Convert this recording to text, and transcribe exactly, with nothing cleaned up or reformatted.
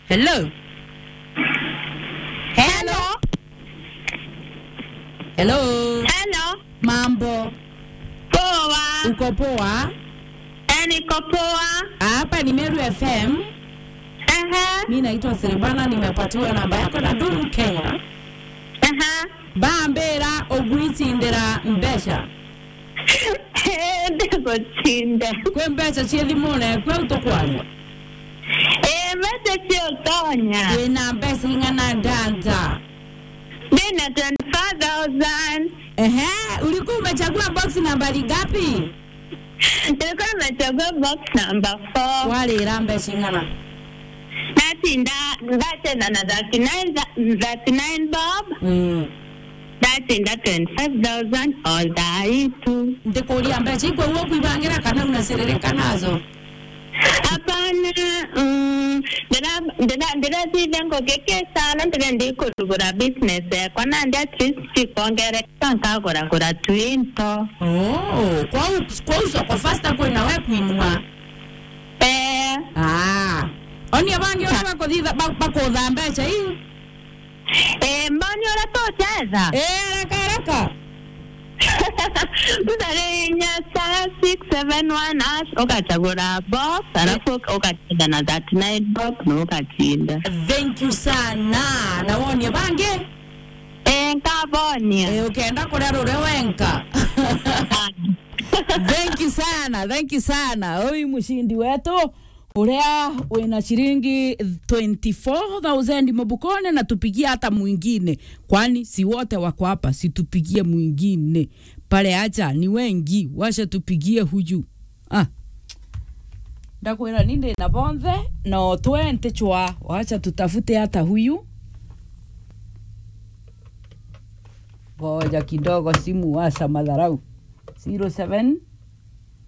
Hello. Hello. Hello. Hello. Mambo. Poa. Uko poa? Eh, niko poa. Hapa ni Meru F M. Aha. Mimi naitwa Silvana, nimepatiwa namba yako na Duru Kenya. Aha. Bambira ugwicindira mbeca. Eh, ndigucinda. Kwi mbeca cia thimune eku au tukwaria? Eh, mbeca cia utonya. Wina mbeca ing'ana ndanta? Ndina twenty-five thousand. Ehe, ulikuwa umechagua box nambari ngapi? Nilikuwa nimechagua box number four. Warira mbeca ing'ana? Ndatinda, ndacheza na thirty-nine, thirty-nine bob. Mm. Ndatinda twenty-five thousand all the way to. Ndikuria mbeca ikwe uo kwibangira kana unasiririka nazo? Hapana, mm, ndira-, ndira-, ndiratithia ngugi ki sana, ndire ndikurugura business yakwa, nandi at least cikongereka, nkaguragura twinto. Oh, kwou, kwou soko faster kwina we kwinua? Eh. Ah. Oni abangi uria bakuthitha, ba-, bakutha mbeca iu? Eh, mboni uria tucetha? Eh, haraka, haraka. Tutarinya star six seven one hash, ugachagura box, alafu uka-, ugacheza na thirty-nine box, na ugacinda. Thank you sana. Na wonie bangi? Eh, nkabonia. Eh, ukenda kuria rure wenka. Ah. Thank you sana, thank you sana. Ui mushindi wetu. Uria wina shilingi twenty-four thousand mubukone na tupigie hata mwingine. Kwani si wote wako hapa, si tupigie mwingine. Pale acha ni wengi, wacha tupigie huyu. Ah. Ndakwira ni ndi na bonthe, no twenty chwa, wacha tutafute hata huyu. Ngoja kidogo simu wacha madharau. Zero seven.